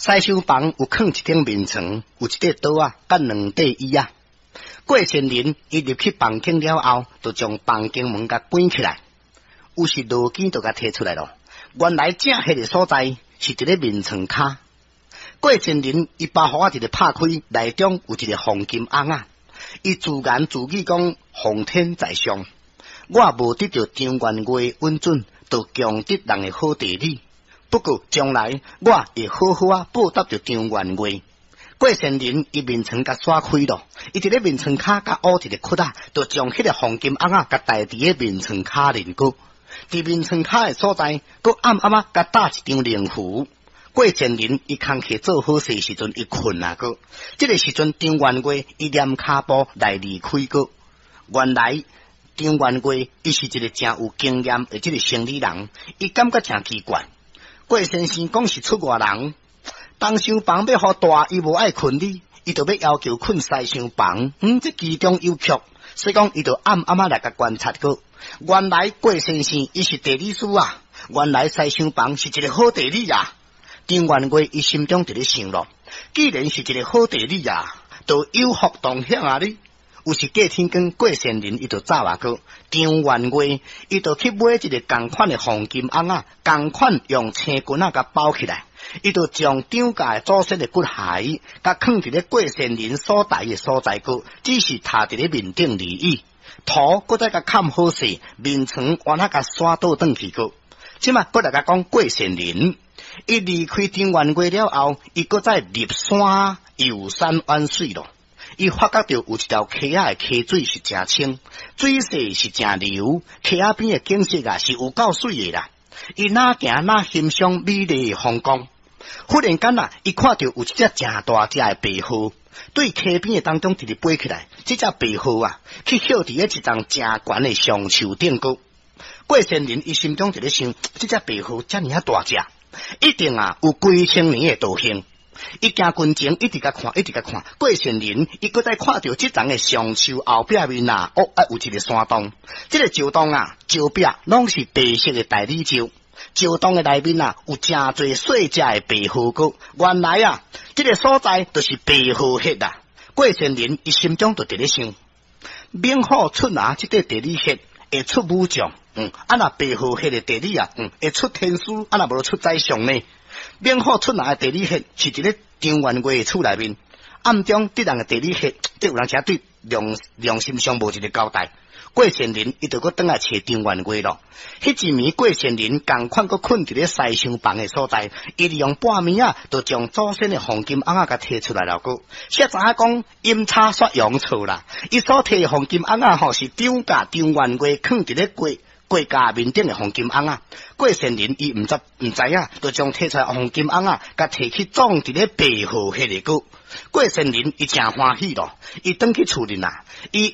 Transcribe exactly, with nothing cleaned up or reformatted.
西廂房有囥一頂眠床，有一塊桌仔，佮兩塊椅仔。郭仙人伊入去房間了後，就將房間門共關起來。有時羅經就共提出來囉。原來正彼个所在是佇咧眠床跤。郭仙人伊包袱仔一个拍開，內中有一个黃金甕仔。伊自言自語講：奉天在上，我無得著張元月允准，就強得人的好地理。不過將來我會好好仔報答著張元月。郭仙人伊眠床共閂開囉，伊佇咧眠床跤共挖一个窟仔，就將彼个黃金甕仔共刣佇咧眠床跤面閣。佇眠床跤的所在，閣暗暗仔共打一張靈符。郭仙人伊工課做好勢時陣，伊睏啊閣。這个時陣，張元月伊踮跤步來離開閣。原來張元月伊是一个誠有經驗的這个生理人，伊感覺誠奇怪。郭先生講是出外人，東廂房欲予大，伊無愛睏你，伊就欲要求睏西廂房。嗯，這其中有蹺，所以講伊就暗暗仔來共觀察閣。原來郭先生伊是地理師啊，原來西廂房是一个好地理啊。張元月伊心中佇咧想囉，既然是一个好地理啊，就有福同享啊！你有時過天光，郭仙人伊就走啊閣，張元月伊就去買一个仝款的黃金甕仔，仝款用青巾仔共包起來，伊就將張家的祖先的骨骸，共囥佇咧郭仙人所刣的所在閣，只是踏佇咧面頂而已。塗閣再共崁好勢，眠床完仔共徙倒轉去閣。這馬閣來共講郭仙人，伊離開張元月了後，伊閣再入山遊山玩水囉。伊發覺著有一條溪仔的溪水是誠清，水勢是誠流，溪仔邊的景色啊是有夠媠的啦。伊若行若欣賞美麗的風光，忽然間啊，伊看著有一隻誠大隻的白鶴，對溪邊的當中直直飛起來。這隻白鶴啊，去歇佇咧一叢誠懸的松樹頂閣。郭仙人伊心中佇咧想，這隻白鶴遮爾仔大隻，一定啊有幾千年的道行。伊行近前，一直共看，一直共看。郭仙人伊閣再看著這叢的松樹後壁面啊，哦，啊有一个山洞。這个石洞啊，石壁攏是白色的大理石。石洞的內面啊，有誠濟細隻的白鶴閣。原來啊，這个所在就是白鶴穴啊。郭仙人伊心中就佇咧想，猛虎出拿這塊地理穴會出武將，嗯，啊若白鶴穴的地理啊，嗯，會出天師，啊若無出宰相呢？猛虎出拿的地理穴是佇咧張元月的厝內面，暗中敵人的地理穴，這有人誠對良良心上無一个交代。郭仙人伊就閣轉來揣張元月囉。彼一暝郭仙人仝款閣睏佇咧西廂房的所在，伊利用半暝仔，就將祖先的黃金甕仔共提出來了閣。才知影講陰差煞陽錯啦，伊所提的黃金甕仔吼是張家張元月囥佇咧郭郭家面頂的黃金甕仔。郭仙人伊毋知毋知影，就將提出來黃金甕仔，共提去葬佇咧白鶴彼个閣。郭仙人伊誠歡喜囉，伊轉去厝裡啦，伊。